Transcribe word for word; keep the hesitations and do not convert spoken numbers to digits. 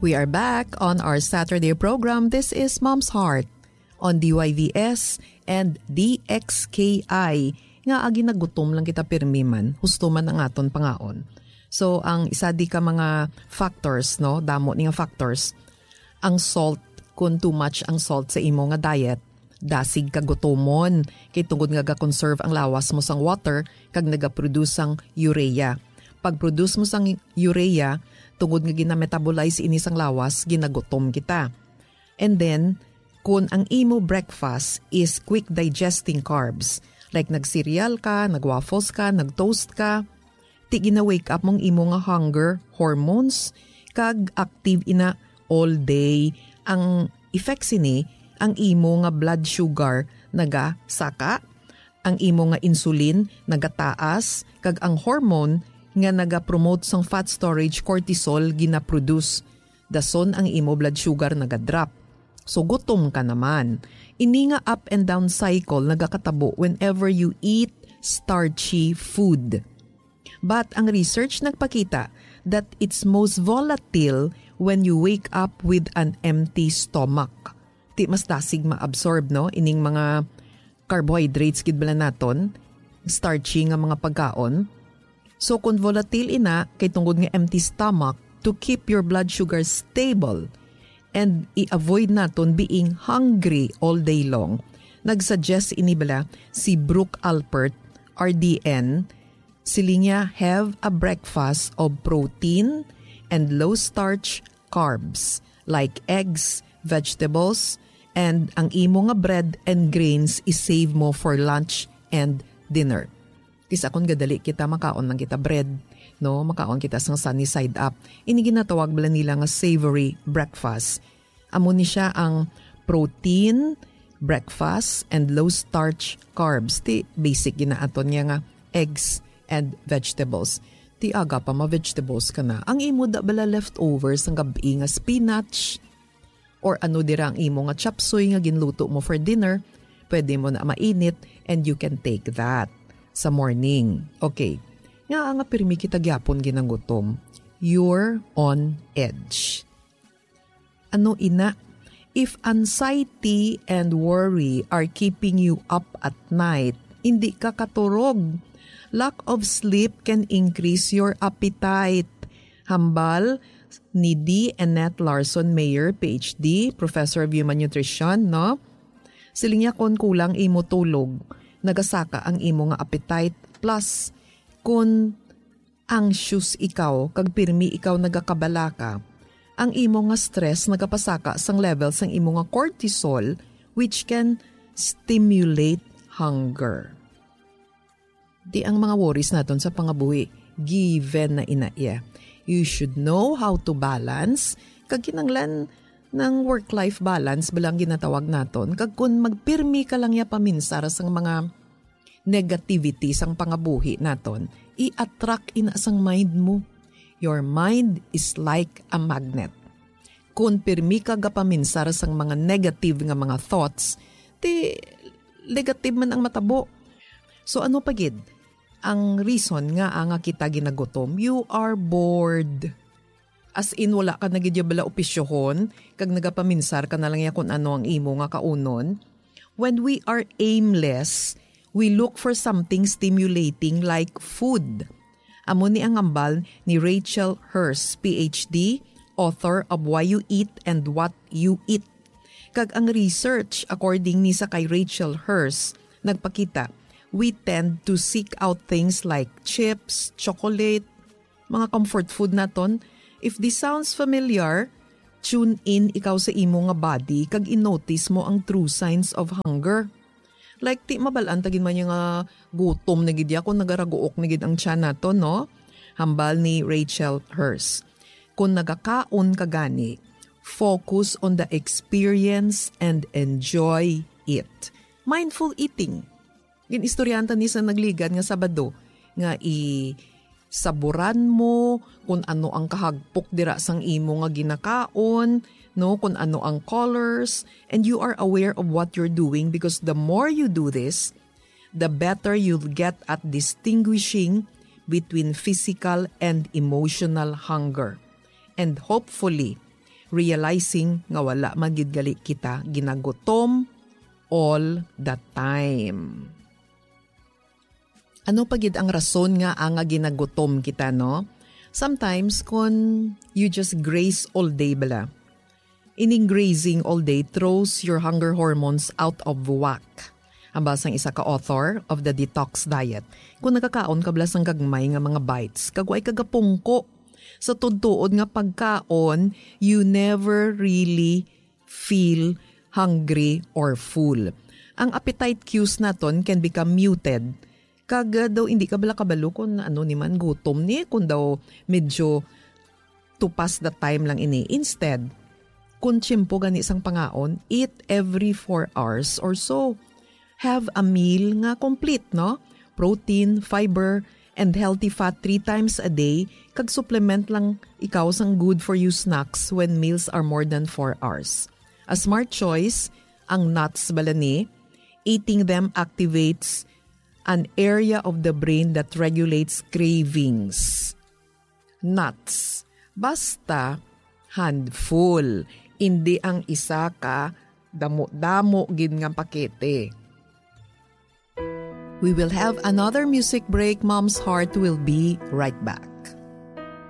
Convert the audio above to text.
We are back on our Saturday program. This is Mom's Heart on D Y V S and D X K I. Nga agi nagutom lang kita pirmi man, husto man ang aton pangaon. So, ang isa di ka mga factors, no, damo ni nga factors, ang salt, kung too much ang salt sa imo nga diet, dasig ka gutomon, kay tungod nga ga-conserve ang lawas mo sang water kag nagaproduce sang urea. Pag-produce mo sang urea, tungod nga ginametabolize ini sang lawas, ginagutom kita. And then, kung ang imo breakfast is quick digesting carbs, like nag-cereal ka, nag-waffles ka, nag-toast ka, ti gina-wake up mong imo nga hunger hormones, kag active ina all day. Ang effect sini, ang imo nga blood sugar nagasaka, ang imo nga insulin nagataas, kag ang hormone nga nagapromote sang fat storage, cortisol, ginaproduce. Dason ang imo blood sugar nagadrop. So, gutom ka naman. Ini nga up and down cycle nagakatabo whenever you eat starchy food. But ang research nagpakita that it's most volatile when you wake up with an empty stomach. Ti mas dasig ma-absorb, no, ining mga carbohydrates gid bala naton, starchy nga mga pagkaon. So, kung volatile ina, kay tungod nga empty stomach, to keep your blood sugar stable and i-avoid naton being hungry all day long, nag-suggest ini bala si Brooke Alpert, R D N, siling niya, "Have a breakfast of protein and low-starch carbs like eggs, vegetables, and ang imo nga bread and grains i-save mo for lunch and dinner." Kis-a kon gadali kita, makaon lang kita bread, no? Makaon kita sang sunny side up. Ini ginatawag bala nila nga savory breakfast. Amo ni sia ang protein, breakfast, and low-starch carbs. Ti basic ginaaton niya nga eggs and vegetables. Ti aga pa ma-vegetables ka na. Ang imo da bala leftovers sang gab-i nga spinach, or ano dira ang imo nga chop suey nga ginluto mo for dinner, pwede mo na mainit and you can take that sa morning. Okay. Nga nga pirmi kita gyapon ginagutom. You're on edge. Ano ina? If anxiety and worry are keeping you up at night, hindi ka katurog. Lack of sleep can increase your appetite. Hambal ni D. Annette Larson Mayer, P H D, Professor of Human Nutrition, no? Siling niya, "Kon kulang imo tulog, nagasaka ang imo nga appetite. Plus, kon anxious ikaw kag pirmi ikaw nagakabalaka, ang imo nga stress nagapasaka sang level sang imo nga cortisol, which can stimulate hunger." Di ang mga worries naton sa pangabuhi, given na ina iya. You should know how to balance, kag kinanglan ng work-life balance bala ang ginatawag naton. Kag kun magpirmi ka lang ya paminsar sang mga negativity sang pangabuhi naton, i-attract ina sang mind mo. Your mind is like a magnet. Kun pirmi ka gapaminsar sang mga negative nga mga thoughts, ti negative man ang matabo. So ano pa gid ang reason nga, ah, nga kita ginagutom? You are bored. As in, wala ka na gid ya bala opisyohon, kag nagapaminsar ka na lang ya kun ano ang imo nga kaunon. When we are aimless, we look for something stimulating like food. Amo ni ang hambal ni Rachel Hurst, P H D, author of Why You Eat and What You Eat. Kag ang research, according ni sa kay Rachel Hurst, nagpakita, we tend to seek out things like chips, chocolate, mga comfort food naton. If this sounds familiar, tune in ikaw sa imo nga body kag i-notice mo ang true signs of hunger. Like, ti mabal-an ta gid man ya nga gutom na gid ya kung nagaraguok na gid ang tiyan naton, no? Hambal ni Rachel Hurst, "Kung nagakaon ka gani, focus on the experience and enjoy it." Mindful eating. Gin-istoryahan ta ni sa nagligad nga Sabado nga i-saburan mo kung ano ang kahagpok dira sang imo nga ginakaon, no, kung ano ang colors, and you are aware of what you're doing, because the more you do this, the better you'll get at distinguishing between physical and emotional hunger. And hopefully, realizing nga wala man gid gali kita ginagutom all the time. Ano pa gid ang rason nga ang nga ginagutom kita, no? Sometimes, kun you just graze all day bala, ining grazing all day throws your hunger hormones out of whack. Ang bala sang isa ka author of The Detox Diet, kung nagakaon ka bala sang gagmay nga mga bites, kag way ka gapungko sa tudtuod nga pagkaon, you never really feel hungry or full. Ang appetite cues naton can become muted. Kag, uh, daw hindi ka bala kabalo kung ano ni man gutom ni, kung daw medyo to pass the time lang ini. Instead, kung tiyempo gani sang pangaon, eat every four hours or so. Have a meal nga complete, no? Protein, fiber, and healthy fat three times a day, kag supplement lang ikaw sang good for you snacks when meals are more than four hours. A smart choice ang nuts bala ni. Eating them activates an area of the brain that regulates cravings. Nuts. Basta handful, indi ang isa ka damo-damo gid nga pakete. We will have another music break. Mom's Heart will be right back.